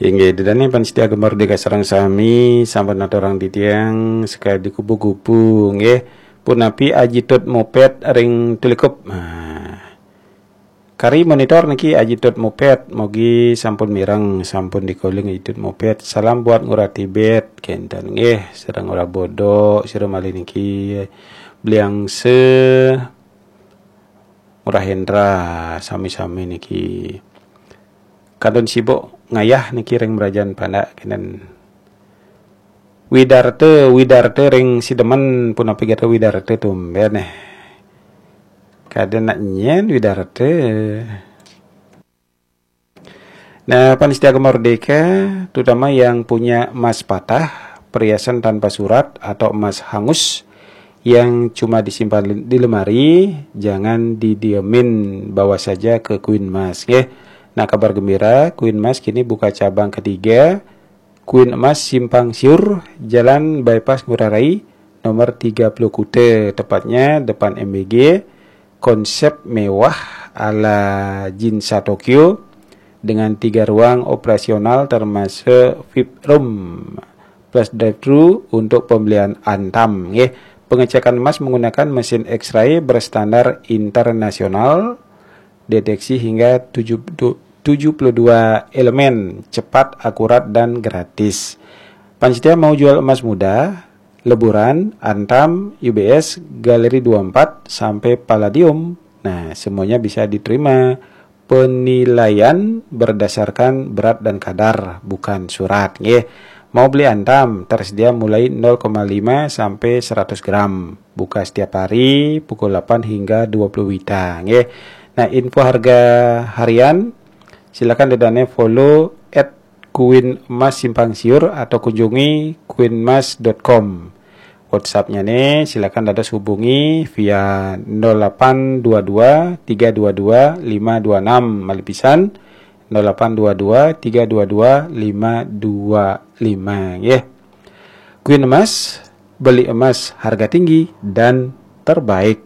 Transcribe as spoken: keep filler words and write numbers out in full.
Inggih, ida dané pamiarsa Gema Merdeka sareng sami, sampun aturang titiang sekadi kupu-kupu, nggih. Punapi Aji Tut Moped ring Tulikup? Nah, kari monitor niki Aji Tut Moped, mogi sampun mireng, sampun dikoling Aji Tut Moped. Salam buat Ngurah Tibet, kénten nggih, sareng Ngurah Bodo, sira malih niki Bliangse, Ngurah Hendra, sami-sami niki. Kantun sibuk ngayah niki ring Mrajan Pandak, kénten. Widarte, Widarte ring Sidemen, punapi gatra Widarte, tumbén éh. Kada nak nyén Widarte. Nah, pamiarsa Gema Merdeka, terutama yang punya emas patah, perhiasan tanpa surat atau emas hangus yang cuma disimpan di lemari, jangan didiemin, bawa saja ke Queen Mas, nggih. Nah, kabar gembira, Queen Mas kini buka cabang ketiga, Queen Emas Simpang Siur, Jalan Bypass Ngurah Rai, nomor tiga puluh Kuta, tepatnya depan M B G. Konsep mewah ala Ginza Tokyo dengan tiga ruang operasional termasuk V I P room plus drive-thru untuk pembelian Antam, nggih. Pengecekan emas menggunakan mesin X-ray berstandar internasional, deteksi hingga tujuh, tu- tujuh puluh dua elemen, cepat, akurat, dan gratis. Pamiarsa mau jual emas muda, Leburan, Antam, U B S, Galeri dua empat, sampai Palladium. Nah, semuanya bisa diterima. Penilaian berdasarkan berat dan kadar, bukan surat, nggih. Mau beli Antam, tersedia mulai nol koma lima sampai seratus gram. Buka setiap hari pukul delapan hingga dua puluh WITA, nggih. Nah, info harga harian, silakan ida dané follow at Queen Emas Simpang Siur atau kunjungi queen mas dot com. WhatsApp-nya nih, silakan dados hubungi via nol delapan dua dua tiga dua dua lima dua enam, malih pisan, nol delapan dua dua tiga dua dua lima dua lima, nggih. Queen Emas, beli emas harga tinggi dan terbaik.